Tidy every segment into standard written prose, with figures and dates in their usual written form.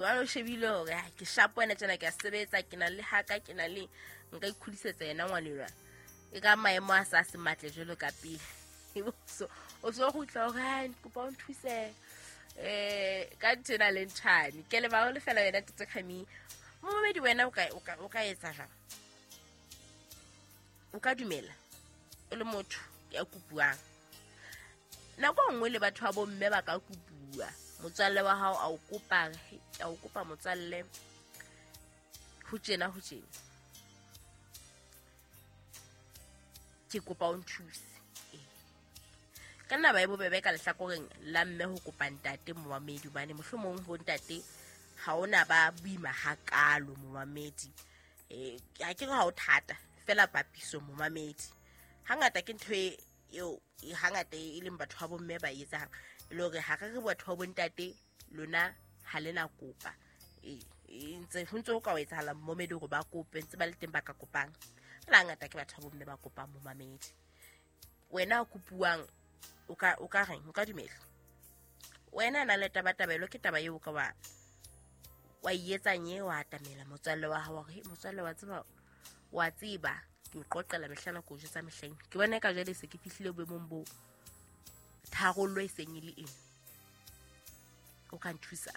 Jwale o shebile hore ke shapo ena tjena, ke a sebetsa, ke na le haka, ke na le nka ikhudisetsa yena ngwanelwa. E ka maemo a sa se matle jwalo ka pele. So o so kgutla hore ha kopa o nthuse ka ntho ena le nthwane. Ke leboha ho lefela wena Ntate Khami. Momamedi wena o ka etsa jwang? O ka dumela o le motho ya kopuwang? Nako nngwe le batho ba bomme ba ka kopuwa. Motswalle wa hao a o kopa, a o kopa motswalle ho tjena ho tjena. Ke kopa o nthuse. Ka nna ba e bobebe ka lehlakoreng la mme ho kopa ntate momamedi, hobane mohlomong ho ntate ha ona ba boima hakalo momamedi. Ha ke re ha o thata fela papiso momamedi. Hangata ke ntho eo hangata e leng batho ba bomme ba etsang, e le hore ha re re batho ba bontate lona ha le na kopa. Ntse ho ntse ho ka etsahala momamedi hore ba kope, ntse ba le teng ba ka kopang. Fela hangata ke batho ba bomme ba kopang momamedi. Wena o kopuwang o ka reng? O ka dumela? Wena na le tabatabelo ke taba eo ka wa etsang e wa atamela motswalle wa hao hore motswalle wa tseba wa tseba ke o qoqela mehlana ko jwetsa mehleng. Ke bona ka jwale se ke fihlile boemong bo tharollo e seng e le eng. O ka nthusa?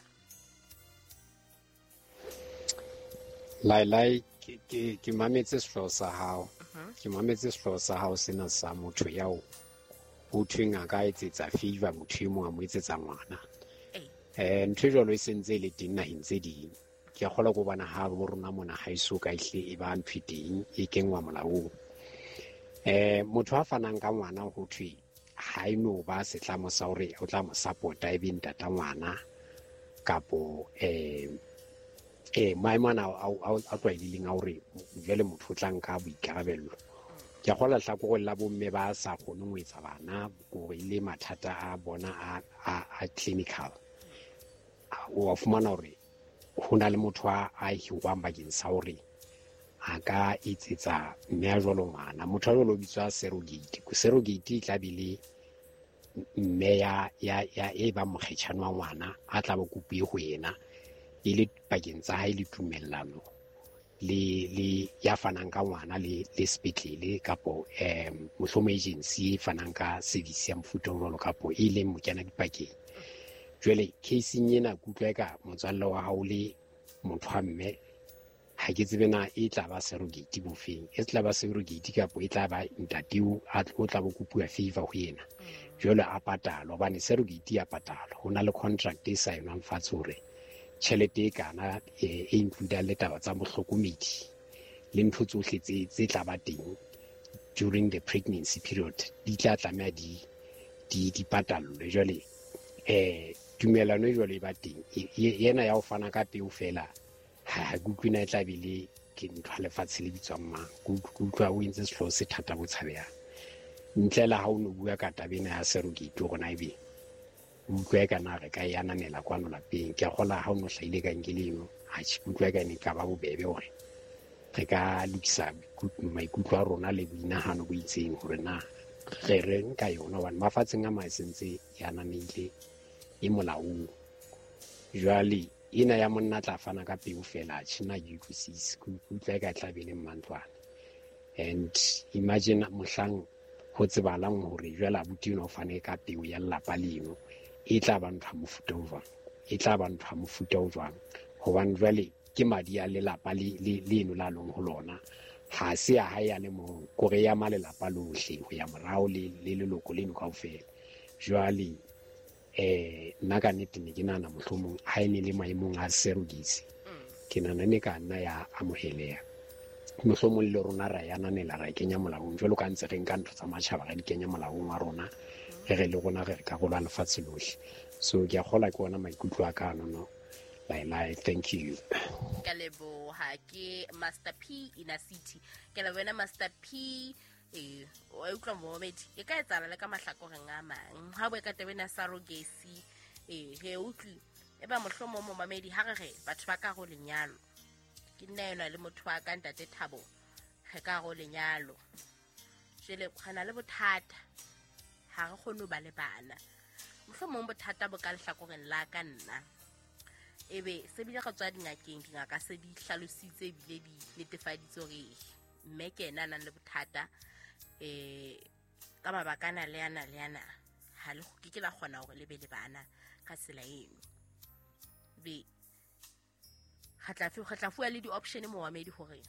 Lai ke mametse sehlooho sa hao. Ke mametse sehlooho sa hao sena sa motho yao ho thweng a ka etsetsa favor motho e mong a mo etsetsa ngwana. Ntho e jwalo e sentse e le teng naheng tse ding. Ke a kgolwa ko bona ha bo rona mona ha eso ka ehle e ba ntho e teng e kenngwa molaong. Motho a fanang ka ngwana ho thwe ha e no ba setlamo sa hore o tla mo support-a e be ntata ngwana kapo maemo ana a tlwaelehileng a hore jwale motho o tla nka boikarabello. Ke a kgolwa lehlakoreng la bomme ba sa kgoneng ho etsa bana hore e le mathata a bona a clinical. O fumana hore ho na le motho a hirwang bakeng sa hore a ka etsetsa mme a jwalo ngwana. Motho a jwalo o bitswa surrogate. Surrogate e tla be le mme ya e bang mokgetjhane wa ngwana a tla ba kopuwe ho yena e le pakeng tsa hae le tumellano le ya fanang ka ngwana le sepetlele kapo mohlomong agency e fanang ka service ya mofuta o jwalo kapo e leng mokena dipakeng. Jwale case-ing ena ke utlwa eka motswalle wa hao le motho wa mme ha ke tsebe na e tla ba surrogate bofeng, e tla ba surrogate kapo e tla ba ntate o tla bo kopuwa favor ho yena. Jwale a patalwa hobane surrogate ya patalwa, ho na le contract e saenwang fatshe hore tjhelete e kana e include le taba tsa mohlokomedi le ntho tsohle tse tla ba teng during the pregnancy period di tla tlameha di patallwe. Jwale tumellano e jwalo e ba teng yena ya ho fana ka peo fela ha ke utlwe na e tla be le ke ntho ya lefatshe le bitswang mang. Ke utlwa o entse sehlooho se thata bo tshabehang. Ntle le ha o no bua ka taba ena ya surrogate hore na ebe o utlwa eka na re ka e ananela kwano lapeng. Ke a kgolwa ha o no hlahile ka nkele eno, atjhe, ke utlwa eka ne ka ba bobebe hore re ka lokisa maikutlo a rona le boinahano bo itseng hore na re reng ka yona, hobane mafatsheng a mang e sentse e ananehile e molaong. Jwale ena ya monna tla fana ka peo fela, atjhe, nna ke utlwisise. Ke utlwa eka e tla be le mmantlwana. And imagine mohlang ho tsebalang hore jwale abuti enwa o fane ka peo ya lelapa leno, e tla ba ntho ya mofuta o jwang? E tla ba ntho ya mofuta o jwang? Hobane jwale ke madi a lelapa leno la leng ho lona, ha se ya hae ya le mong, kore ya ma lelapa lohle ho ya morao le leloko leno kaofela. Jwale nna ka nnete ne ke nahana mohlomong ha e ne le maemong a surrogacy, ke nahana ne ka nna ya amoheleha. Mohlomong le rona ra e ananela, ra e kenya molaong jwalo ka ntse re nka ntho tsa matjhaba ra di kenya molaong wa rona, re re le rona re re karolo ya lefatshe lohle. So ke a kgolwa ke ona maikutlo a ka anono. Lai, thank you. Ka leboha ke Master P Inner City. Ke la wena Master P. O utlwa momamedi e ka etsahala le ka mahlakoreng a mang. Ha o ka taba ena surrogacy, re utlwi e ba mohlomong momamedi ha re re batho ba ka go lenyalo. Ke nna enwa le motho wa ka ntate Thabo, re ka go lenyalo. Jwale re na le bothata, ha re kgone ho ba le bana. Mohlomong bothata bo ka lehlakoreng la ka nna. Ebe se bile re tswa dingakeng, dingaka se di hlalositse ebile di netefaditse hore mme ke ena a nang le bothata ka mabaka ana le ana le ana, ha le ke ke la kgona hore le be le bana ka tsela eno. Be re tla fuwa le di-option momamedi hore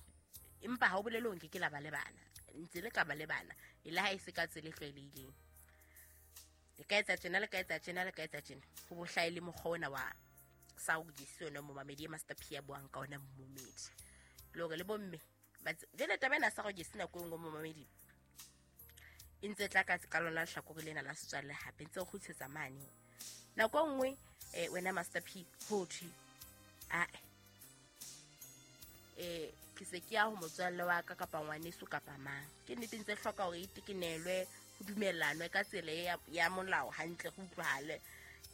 empa ha o bolele hore nke ke la ba le bana, ntse le ka ba le bana e le ha e se ka tsela e tlwaelehileng. Le ka etsa tjena, le ka etsa tjena, le ka etsa tjena, ho bo hlahe le mokgwa ona wa surrogacy ona momamedi e Master P a buang ka ona momamedi. Le hore le bomme jwale taba ena ya surrogacy nako e nngwe momamedi e ntse tla ka lona lehlakore lena la setswalle hape ntse o kgutlisetsa mane. Nako e nngwe wena Master P ho thwe ae ke se ke ya ho motswalle wa ka kapa ngwaneso kapa mang. Ke nnete ntse hloka hore e tekenelwe, ho dumellanwe ka tsela ya molao hantle, go utlwahale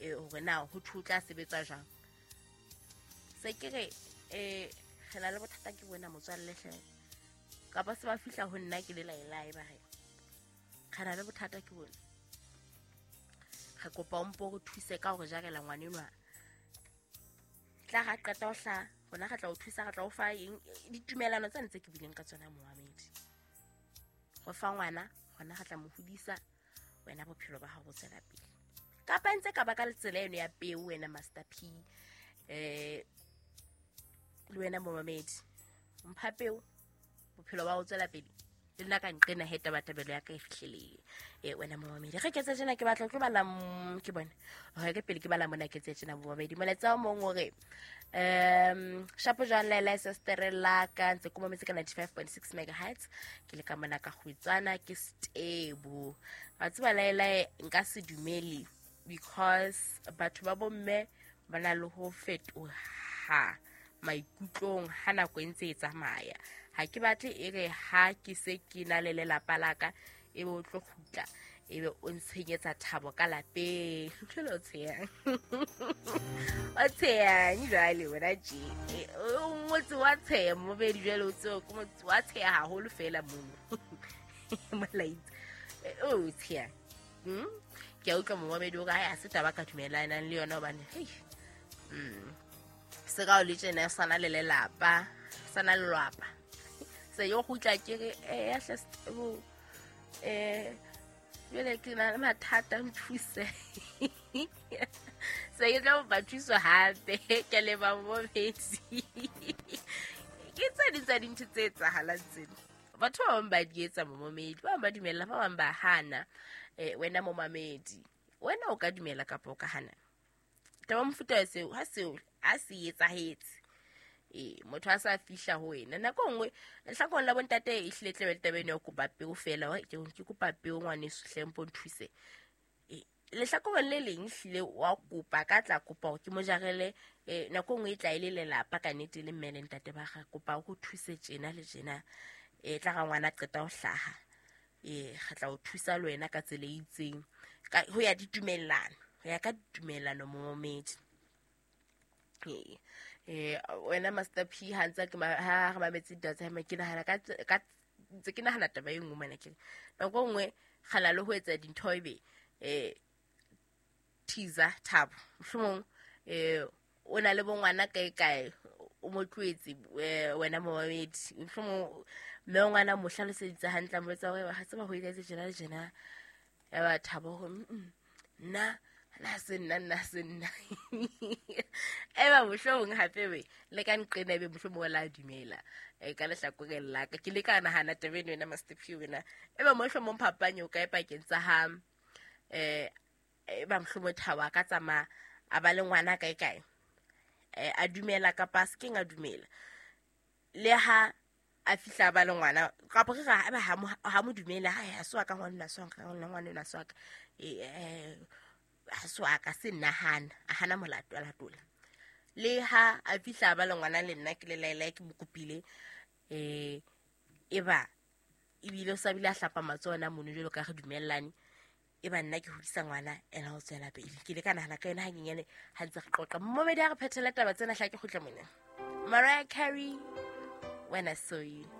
hore na ho thwe ho tla sebetswa jwang. Se ke re re na le bothata ke bona motswalle hle, kapa se ba fihla ho nna ke le laelae ba re re na le bothata ke bona, re kopa o mpo re thuse ka hore jarela ngwanenwa. Tla ra qeta ho hlaha rona re tla o thusa, re tla o fa eng, ditumelano tsa ntse ke bileng ka tsona momamedi. Re fa ngwana rona re tla mo hodisa, wena bophelo ba hao bo tswela pele. Kapa ntse ka ba ka tsela eno ya peo wena Master P le wena momamedi, mpha peo bophelo ba ho tswela pele, le nna ka nqena he tabatabelo ya ka e fihlelele. Wena momamedi re ke tse tjena ke batla ho tlo bala ke bone hore ke pele ke bala mona ke tse tjena momamedi. Molaetsa o mong o re shapo jwang laela sestere la ka ntse ke mametse ka 95.6 megahertz, ke le ka mona ka kgwetswana ke stable. Wa tseba laela nka se dumele because batho ba bomme ba na le ho fetoha maikutlong ha nako e ntse e tsamaya. Ha ke batle e re ha ke se ke na le lelapa la ka ebe o tlo kgutla ebe o ntshenyetsa thabo ka lapeng. Jwale o tsheyang o tsheyang jwale wena tje o motse wa tsheya momedi, jwale o tseo ke motse wa tsheya haholo fela mono molaitse o tsheyang. Ke a utlwa momamedi o re ha se taba ka dumelanang le yona hobane hei se ka o le tjena sana le lelapa sana le lwapa se yo kgutla ke re ya hle jwale ke na le mathata nthuse se ke tla ba thuso hape ke le ba momedi. Ke tse ding tsa dintho tse etsahalang tsena, batho ba bang ba di etsa momamedi, ba bang ba dumella, ba bang ba hana. Wena momamedi wena o ka dumela kapa o ka hana taba mofuta seo ha seo a se etsahetse. Motho a sa fihla ho wena nako nngwe lehlakoreng la bontate e hlile tle be le taba eno ya ho kopa peo fela, ke kopa peo ngwaneso hle mpo nthuse. Lehlakoreng le leng hlile wa kopa ka tla kopa hore ke mo jarele nako nngwe e tla e le lelapa ka nnete le mme le ntate ba ga kopa ho thuse tjena le tjena, tla ga ngwana qeta ho hlaha re tla o thusa le wena ka tsela e itseng ho ya ditumellano, ho ya ka ditumellano momamedi. Wena Master P ha ntse ke ha re mametse ditaba tsa hae, ke nahana ka ntse ke nahana taba e nngwe mona ke nako nngwe kgala le ho etsa dintho ebe teaser Thabo mohlomong o na le bongwana kae kae o mo tloetse wena momamedi, mohlomong mme ngwana mo hlaloseditse hantle a mo etsa hore ha tseba ho etsetse tjena le tjena, ya ba Thabo hore nna nna se nna nna se nna eba mohlomong hape be le ka nqena ebe mohlomong la dumela ka lehlakoreng la ka. Ke le ka nahana taba eno wena Master P wena eba mohlomong phapang o kae pakeng tsa ha eba mohlomong Thabo a ka tsamaya a ba le ngwana kae kae a dumela kapa a se keng a dumela, le ha a fihla ba le ngwana kapa re ra eba ha mo dumela ha se wa ka ngwana se wa ka ngwana se wa ka ha se wa ka se nahana a hana molato a latola, le ha a fihla ba le ngwana le nna ke le laela ke mo kopile eba ebile o sa bile a hlapa matsoho ona mono jwalo ka re dumellane eba nna ke hodisa ngwana ena ho tswela pele. Ke le ka nahana ka yona hanyenyane ha ntse re qoqa momedi a re phethele taba tsena hla ke kgutla mona. Mariah Carey, When I Saw You.